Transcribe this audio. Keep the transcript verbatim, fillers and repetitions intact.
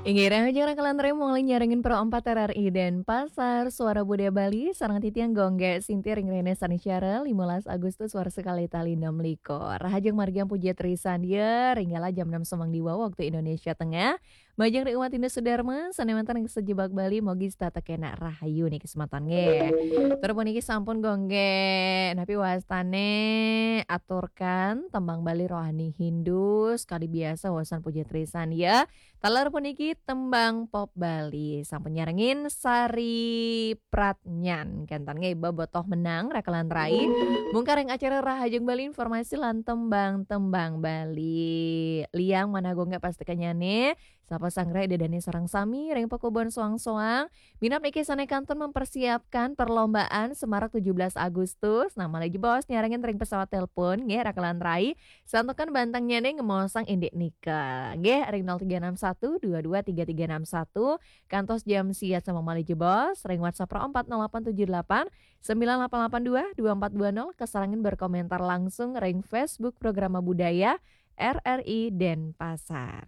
Inggih, rahajeng rakalan rai mangli nyarengin Pro empat R R I Denpasar, Suara Budaya Bali, sareng titiang Gung Gé Sinti ring rahina Saniscara, limolas Agustus warsa kalih tali enam likur. Rahajeng margiang Puja Trisandya, ring galah jam enam semeng diwau waktu Indonesia Tengah. Majeng ring umat Hindu sedharma, sané wénten ring sajebag Bali, mogi setata kénak rahayu niki semeton nggih. Tur puniki sampun Gung Gé, napi wastané aturkan tembang Bali rohani Hindu, sekadi biasa wawasan Puja Trisandya. Taler puniki tembang pop Bali. Sampun nyarengin Sari Pratnyan. Kénten nggih, Bobotoh Menang, rakalan rai. Mungkar ring acara Rahajeng Bali, informasi lan tembang-tembang Bali. Liang manah Gung Gé pasti kanyané, sapa sanggra Ida Dané sareng sami, ring pakubon soang-soang. Minab niki sané kantun mempersiapkan perlombaan semarak tujuh belas Agustus. Nah, malih jebos nyarengin ring pesawat telepon, nggih, rakalan rai. Santukan bantengnyané ngemaosang indik nika. Nggih, ring nol tiga enam satu dua dua tiga tiga enam satu, kantos jam sia sampun malih jebos, ring WhatsApp Pro empat nol delapan tujuh delapan sembilan delapan delapan dua dua empat dua nol, kasarengin berkomentar langsung ring Facebook Programa Budaya R R I Denpasar.